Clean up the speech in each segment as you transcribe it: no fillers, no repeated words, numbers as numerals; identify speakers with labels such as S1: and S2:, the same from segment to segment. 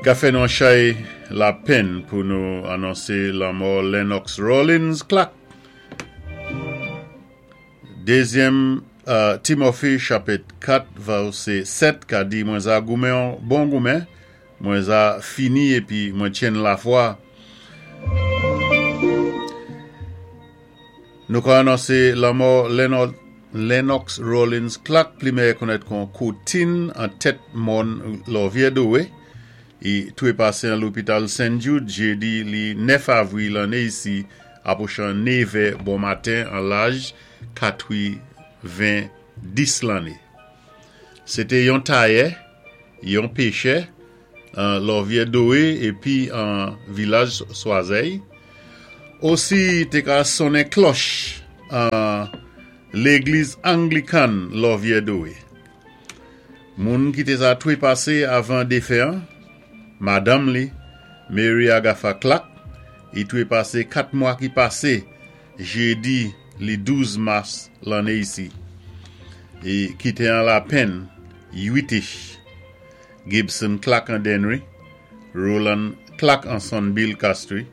S1: Ka fè nou an chay lapenn pou nou anonsé lanmò Lennox Rawlins Clark. Dézyèm Timothy chapit 4 vèsé 7 ka di, Mwen za goumen yon bon goumen, mwen za fini épi mwen tyenn lafwa. Nou ka anonse lanmò Lennox Rawlins Clark, pli mèyè konnèt kon Koutin an tèt mòn Lòvyè Dowe, i twepase an lopital Sen Jude jedi li 9 avri lanne isi apwochan 9 è bon maten an laj 90 lanne. Se te yon tayè, yon pechè an Lòvyè Dowe epi an vilaj Swazèy. Osi te ka sonnen klòch an legliz Anglikan Lòvyè Dowe. Moun ki te sa twepase avan defen an, madanm li, Mary Agatha Clark, i twepase 4 mwa ki pase jedi li 12 mas lanne isi, i kite an lapenn 8 ich, Gibson Clark an Dennery, Roland Clark an Sonbil Castries,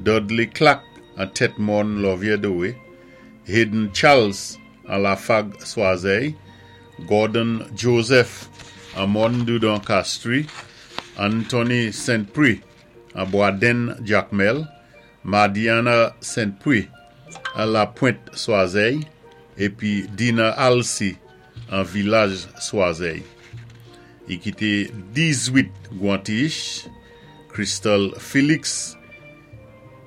S1: Dudley Clark an Tèt Mòn Lòvyè Dowe, Hayden Charles an Lafag Swazèy, Gordon Joseph an Mòn Doudon Castries, Anthony Saint Prix an Bwadenn Jakmèl, Madiana Saint Prix an Lapwent Swazèy épi Dina Alcy an Vilaj Swazèy. I kité 18 gwanti-ich, Crystal Felix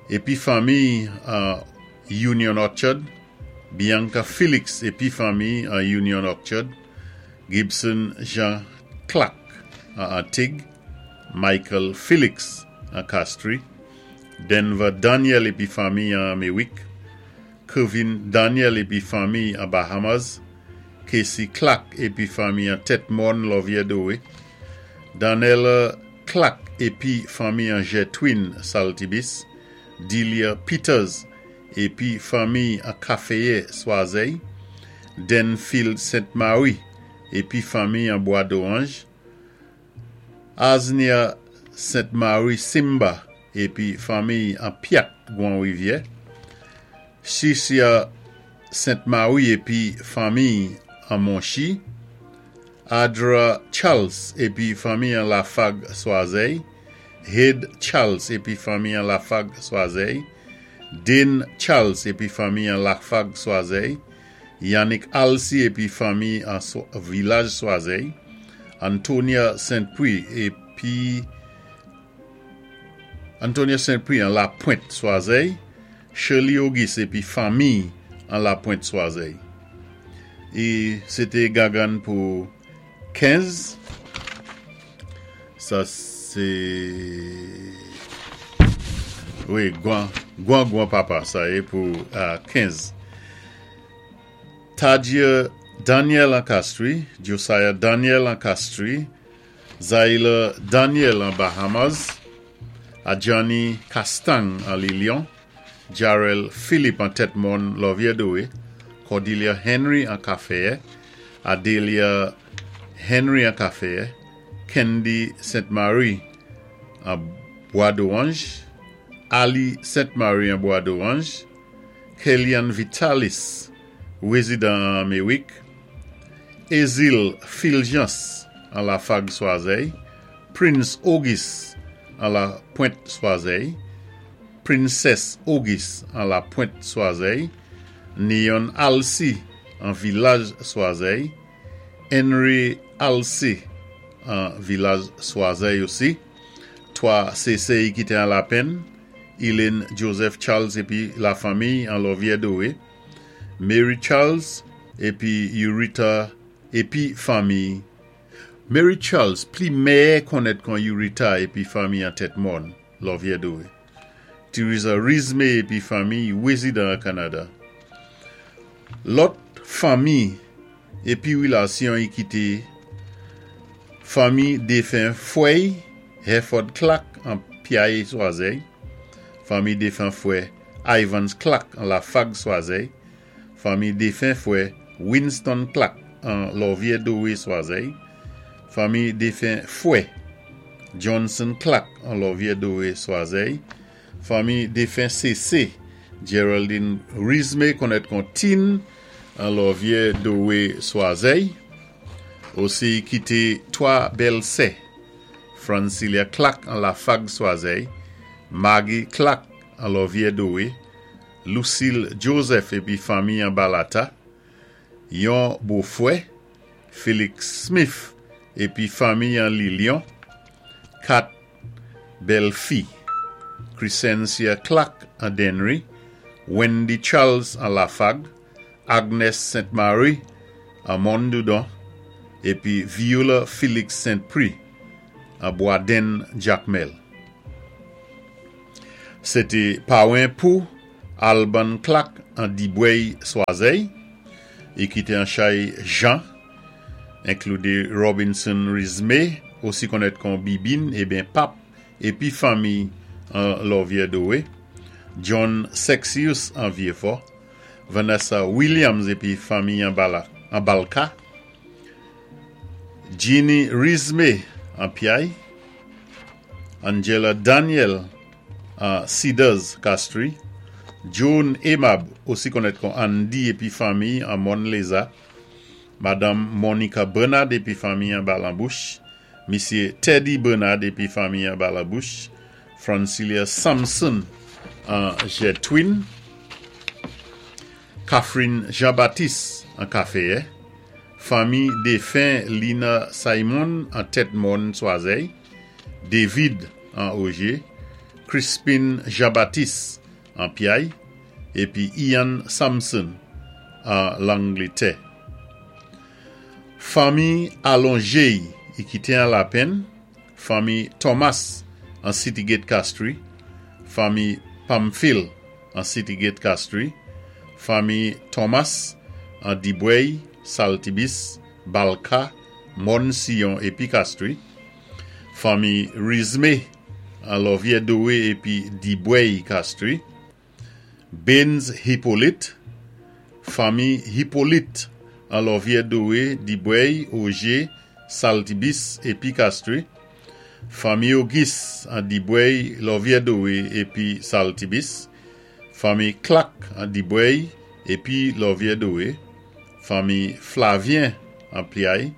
S1: épi fanmiy an Union Orchard, Bianca Felix épi fanmiy an Union Orchard, Gibson Jean Clark an Antig, Michael Felix an Castries, Denver Daniel épi fanmiy an Merrick, Kevin Daniel épi fanmiy an Bahamas, Casey Clark épi fanmiy an Tèt Mòn Lòvyè Dowe, Darnella Clark épi fanmiy an Jetwin Saltibis, Delia Peters épi fanmiy an Kaféyè Swazèy, Denfield Saint Marie épi fanmiy an Bwa Doranj, Aznia Saint Marie Simba épi fanmiy an Pyat Gwan Rivyè, Cisia Saint Marie épi fanmiy an Monchi, Adra Charles épi fanmiy an Lafag Swazèy, Hade Charles épi fanmiy an Lafag Swazèy, Dane Charles épi fanmiy an Lafag Swazèy, Yannick Alcy épi fanmiy an Vilaj Swazèy, Antonia Saint Prix épi Antonia Saint Prix an Lapwent Swazèy, Shirley Auguste épi fanmiy an Lapwent Swazèy. I sé té gangann pou 15. Sa sé wi gwan gwan gwan papa sa yé pou 15. Tadjie Daniel an Castries, Josiah Daniel an Castries, Zaila Daniel an Bahamas, Adjani Castang an Lilion, Jarel Philippe an Tèt Mòn Lòvyè Dowe, Cordelia Henry an Kafèyè, Adelia Henry an Kafèyè, Kendy Saint Marie an Bwa Doranj, Ali Saint Marie an Bwa Doranj, Kellyanne Vitalis, rézidan an Amerik, Ezil Fulgence an Lafag Swazèy, Prince Auguste an La Pwent Swazèy, Princess Auguste an La Pwent Swazèy, Neon Alcy an Vilaj Swazèy, Henry Alcy an Vilaj Swazèy osi, 3 sésé i kité an lapenn, Elaine Joseph Charles épi lafanmiy an Lòvyè Dowe, Mary Charles épi Eurita épi fanmiy Mary Charles pli mèyè konnèt kon Eurita épi fanmiy an Tèt Mòn, Lòvyè Dowe. Theresa Rizme épi fanmiy wézidan an Kanada. Lòt fanmi épi wilasyon i kité fanmi défen fwèy Herford Clark an Pyaye Swazèy, fanmi défen fwè Ivans Clark an Lafag Swazèy, fanmi défen fwè Winston Clark an Lòvyè Dowe Swazèy, fanmi défen fwè. Johnson Clack an Lòvyè Dowé Swazèy, fanmi défen CC Geraldine Rizmé konnèt kon Tin an Lòvyè Dowé Swazèy, osi kité 3 bèl sè, Francilia Clack an Lafag Swazèy, Maggie Clack an Lòvyè Dowé, Lucille Joseph épi fanmi an Balata, yon bofwè, Felix Smith épi fanmi an Lilion, 4 bèl fi, Crescencia Clack an Dennery, Wendy Charles an Lafag, Agnes Saint Marie an Mondoudon épi Viola Felix Saint Prix an Bwadenn Jakmèl. Sé té pawen pou Alban Clack an Dibwèy Swazèy i kité an chay Jean, enkloudé Robinson Rizmé, osi konnèt kon Bibin eben Pap épi fanmi an Lòvyè Dowé, John Sexius an Vyéfò, Vanessa Williams épi fanmi an Balka, Jeannie Rizmé an Pyay, Angela Daniel an Cedars Castries, Joan Aimable osi konnèt kon Andy épi fanmi an Mòn Léza, Madanm Monica Bernard épi fanmi an Balanbouch, Misyé Teddy Bernard épi fanmi an Balabouch, Francilia Samson an Jetwin, Catherine Jean-Baptiste an Kaféyè, fanmi défen Lina Simon an Tèt Mòn Swazèy, David an Ogé, Crispin Jean-Baptiste an Pyay, épi Ian Samson an Langlétè. Fanmi Alonjey i kité an Lapenn, fanmi Thomas an City Gate Castries, fanmi Pamphile an City Gate Castries, fanmi Thomas an Dibwèy, Saltibis, Balka, Mòn Siyon épi Castries, fanmi Rizmé an Lòvyè Dowé épi Dibwèy Castries, Baines Hyppolite, fanmi Hyppolite an Lòvyè Dowé, Dibwèy, Ogé, Saltibis épi Castries, fanmi Auguste an Dibwèy, Lòvyè Dowé épi Saltibis, fanmi Clack an Dibwèy épi Lòvyè Dowé, fanmi Flavien an Pyay,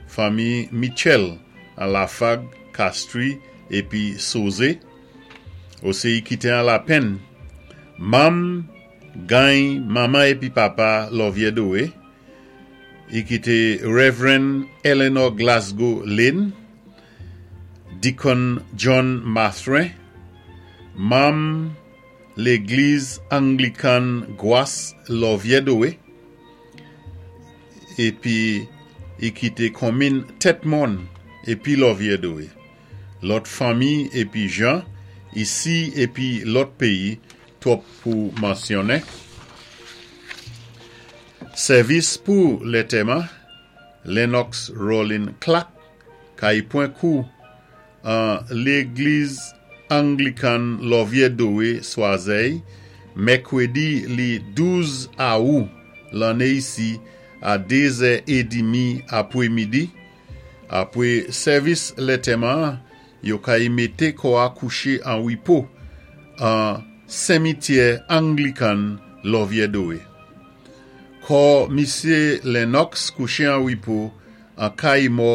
S1: fanmi Mitchell an Lafag, Castries épi Sozé, osi kité an Lapenn, manm gany manman épi papa Lòvyè Dowé, i kité Reverend Eleanor Glasgow Lane, Deacon John Mathurin, manm Légliz Anglikan Gwas Lòvyè Dowé, épi i kité konminn Tèt Mòn épi Lòvyè Dowé. Lòt fanmi épi jan, isi épi lòt péyi, twòp pou mansyonnen. Sèvis pou lètèman, Lennox Rolling Clack, kay pwan kou an Légliz Anglikan Lòvyè Dowé Swazèy, mèkwédi li 12 Awou lanné isi a 2 zè édimi apwé midi. Apwé sèvis lètèman an, yo kay mété kò a kouché an wipo an Senmityè Anglikan Lòvyè Dowé. Kò misyé Lennox kouché an wipo an kay mò.